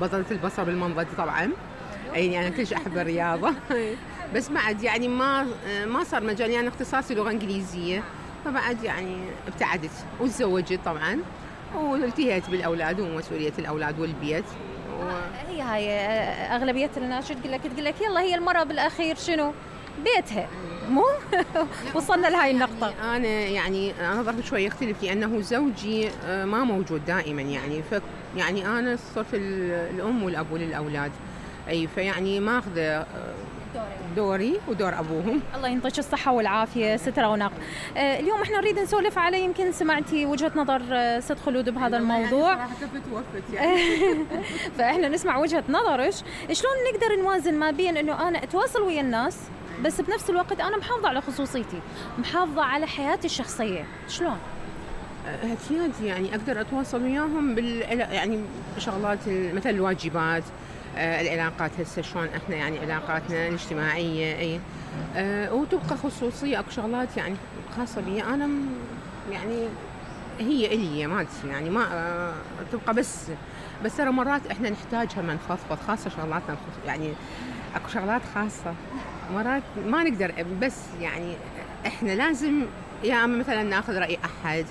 بطلة البصر بالمنضد طبعا. يعني أنا كلش أحب الرياضة. بس بعد يعني ما صار مجالي، أنا اختصاصي لغة إنجليزية، فبعد يعني ابتعدت وتزوجت طبعا والتهيت بالأولاد ومسؤولية الأولاد والبيت هي هاي أغلبية الناس شو تقول لك يلا هي المرأة بالأخير شنو بيتها مو وصلنا لهاي النقطة. أنا ظرفي شوي يختلف لأنه زوجي ما موجود دائما، يعني أنا صرت الأم والأب للأولاد، أي فيعني ماخذة دوري ودور أبوهم. الله ينطيك الصحة والعافية ست رونق. اليوم احنا نريد نسولف على، يمكن سمعتي وجهة نظر ست خلود بهذا الموضوع. يعني توفت يعني. فاحنا نسمع وجهة نظرش، شلون نقدر نوازن ما بين انه انا اتواصل ويا الناس بس بنفس الوقت انا محافظة على خصوصيتي، محافظة على حياتي الشخصية، شلون؟ أكيد يعني أقدر أتواصل وياهم يعني بشغلات مثل الواجبات، العلاقات هسه شلون احنا يعني علاقاتنا الاجتماعية، اي وتبقى خصوصية. اكو شغلات يعني خاصة بي انا، يعني هي إلي مالتي، يعني ما تبقى بس ترى مرات احنا نحتاجها من نفضفض، خاصة شغلاتنا يعني اكو شغلات خاصة مرات ما نقدر، بس يعني احنا لازم يا اما مثلا ناخذ رأي احد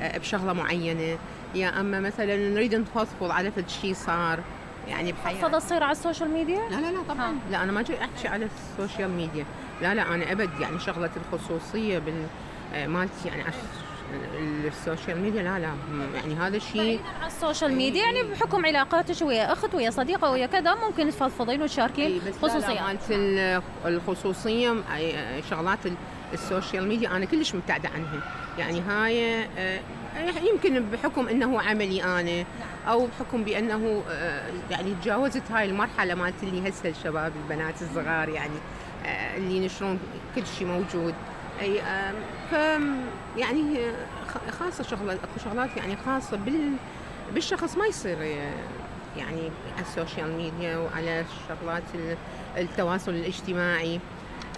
بشغلة معينة، يا اما مثلا نريد نفضفض على فد شيء صار يعني بحياتي. فضل تصير على السوشيال ميديا؟ لا طبعا. لا انا ما جاي احكي على السوشيال ميديا، لا انا ابد يعني شغله الخصوصيه مالتي يعني على السوشيال ميديا لا يعني هذا الشيء على السوشيال ميديا يعني بحكم علاقاتك ويا اخت ويا صديقه ويا كذا ممكن تفضفضين وتشاركين خصوصيات. مالت الخصوصيه شغلات السوشيال ميديا انا كلش مبتعده عنها، يعني هاي يمكن بحكم انه عملي انا او بحكم بانه يعني تجاوزت هاي المرحله مالت اللي هسه الشباب البنات الصغار يعني اللي ينشرون كل شيء موجود، اي ف يعني خاصه اكو شغلات يعني خاصه بالشخص ما يصير يعني على السوشيال ميديا وعلى شغلات التواصل الاجتماعي.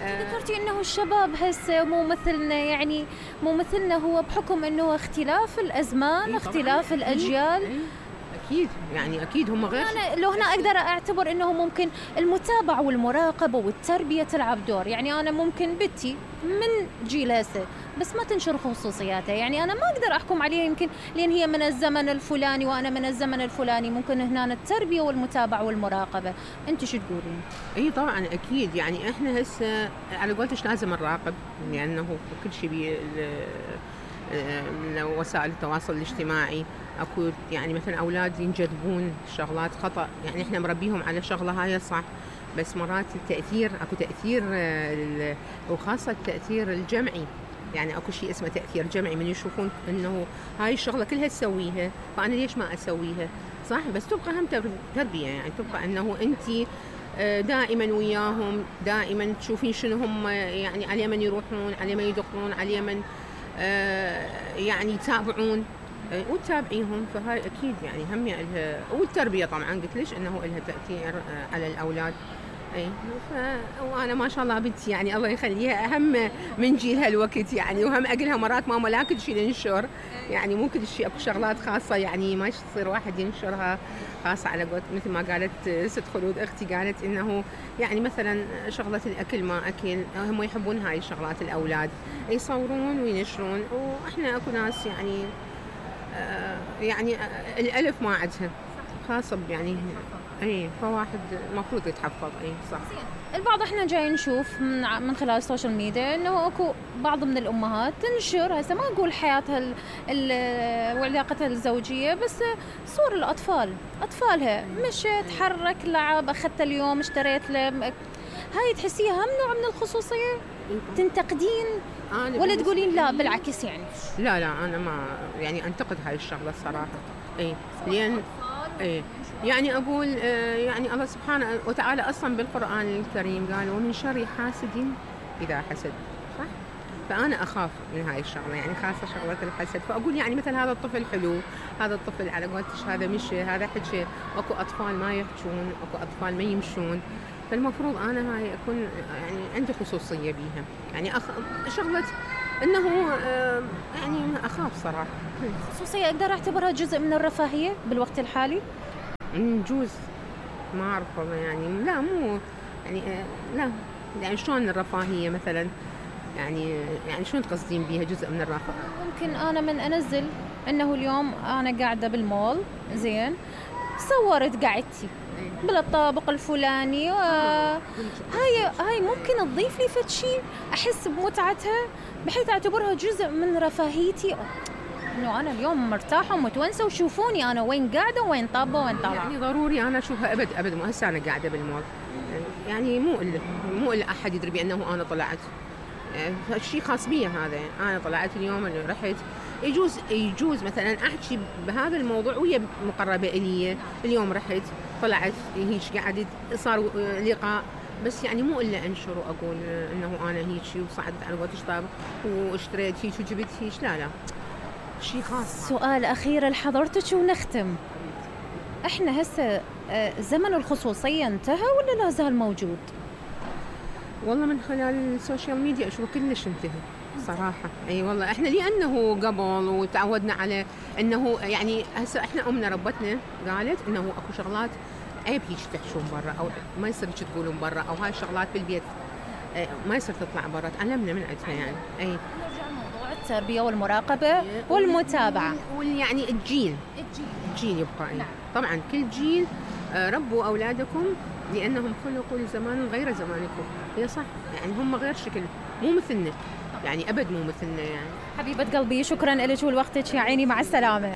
ذكرتي انه الشباب هسه مو مثلنا، يعني مو مثلنا، هو بحكم انه اختلاف الازمان اختلاف الاجيال. اكيد يعني اكيد هم غير. انا لو هنا اقدر اعتبر انه ممكن المتابعه والمراقبه والتربيه تلعب دور، يعني انا ممكن بنتي من جيل هسه بس ما تنشر خصوصياتها، يعني انا ما اقدر احكم عليها يمكن لان هي من الزمن الفلاني وانا من الزمن الفلاني، ممكن هنا التربيه والمتابعه والمراقبه. انت شو تقولين؟ اي طبعا اكيد، يعني احنا هسه على قولتش لازم نراقب لانه كل شيء وسائل التواصل الاجتماعي اكو يعني مثلا اولاد ينجذبون شغلات خطا، يعني احنا مربيهم على شغله هاي صح، بس مرات التاثير اكو تاثير وخاصه التاثير الجمعي، يعني اكو شيء اسمه تاثير جمعي، من يشوفون انه هاي الشغله كلها تسويها فانا ليش ما اسويها صح، بس تبقى هم تربيه، يعني تبقى انه انت دائما وياهم، دائما تشوفين شنو هم يعني على من يروحون، على من يدخلون، على من يعني يتابعون وتتابعيهم، فهاي اكيد يعني هم لها، والتربيه طبعا قلت ليش انه لها تاثير على الاولاد. اي وانا ما شاء الله بنتي يعني الله يخليها اهم من جيل هالوقت يعني، وهم اقلها مرات ماما لا كل شيء ننشر، يعني مو كل شيء، اكو شغلات خاصه يعني ما يصير واحد ينشرها خاصه على قولت مثل ما قالت ست خلود اختي، قالت انه يعني مثلا شغله الاكل ما اكل، هم يحبون هاي الشغلات الاولاد يصورون وينشرون، واحنا اكو ناس يعني الالف ما عندها خاصه يعني اي، فواحد المفروض يتحفظ. اي صح. البعض احنا جاي نشوف من خلال السوشيال ميديا انه اكو بعض من الامهات تنشر، هسه ما اقول حياتها وعلاقتها الزوجيه، بس صور الاطفال، اطفالها مشت حرك لعب، اخذت اليوم اشتريت له، هاي تحسيها هم نوع من الخصوصيه؟ تنتقدين ولا تقولين لا بالعكس يعني؟ لا انا ما يعني انتقد هاي الشغله الصراحه. اي لان اي يعني أقول يعني الله سبحانه وتعالى أصلا بالقرآن الكريم قال ومن شر حاسد إذا حسد، صح؟ فأنا أخاف من هاي الشغلة، يعني خاصة شغلة الحسد، فأقول يعني مثل هذا الطفل حلو، هذا الطفل على قولتش هذا مشي، هذا حكي، أكو أطفال ما يحجون، أكو أطفال ما يمشون، فالمفروض أنا هاي أكون يعني عندي خصوصية بيها، يعني شغلة إنه يعني أخاف صراحة. خصوصية أقدر أعتبرها جزء من الرفاهية بالوقت الحالي؟ نجوز ما اعرف والله يعني لا مو يعني لا يعني شلون الرفاهية مثلا يعني شلون تقصدين بيها جزء من الرفاه؟ ممكن أنا من أنزل إنه اليوم أنا قاعدة بالمول زين، صورت قعدتي بالطابق الفلاني، هاي ممكن تضيف لي فد شيء أحس بمتعتها بحيث أعتبرها جزء من رفاهيتي، إنه أنا اليوم مرتاحة ومتونسة وشوفوني أنا وين قاعدة وين طابة وين طالعة. يعني ضروري أنا أشوفها أبد مو هسه أنا قاعدة بالمول يعني مو إلا أحد يدري بأنه أنا طلعت، شيء خاص بي هذا. أنا طلعت اليوم اللي رحت، يجوز مثلا أحكي بهذا الموضوع ويا مقربة إلي، اليوم رحت طلعت هيك قعدت صار لقاء، بس يعني مو إلا أنشر وأقول إنه أنا هيك وصعدت على واتشاب واشتريت هيك وجبت هيك، لا شيء خاص. سؤال أخير لحضرتك ونختم، إحنا هسه زمن الخصوصية انتهى ولا لا زال موجود؟ والله من خلال السوشيال ميديا أشوف كلش انتهى صراحة. أي والله إحنا لأنه قبل وتعودنا على إنه يعني هسه إحنا أمنا ربتنا قالت إنه أكو شغلات عيب هيك تحشون برا، أو ما يصير هيك تقولون برا، أو هاي الشغلات بالبيت ما يصير تطلع برا، تعلمنا من عندها يعني. أي نرجع موضوع التربية والمراقبة والمتابعة يعني الجيل يبقى. أي طبعا كل جيل ربوا أولادكم لأنهم خلقوا لزمان غير زمانكم. هي صح يعني هم غير شكل، مو مثلنا يعني أبد مو مثلنا يعني. حبيبة قلبي شكرا لك ولوقتك يا عيني، مع السلامة.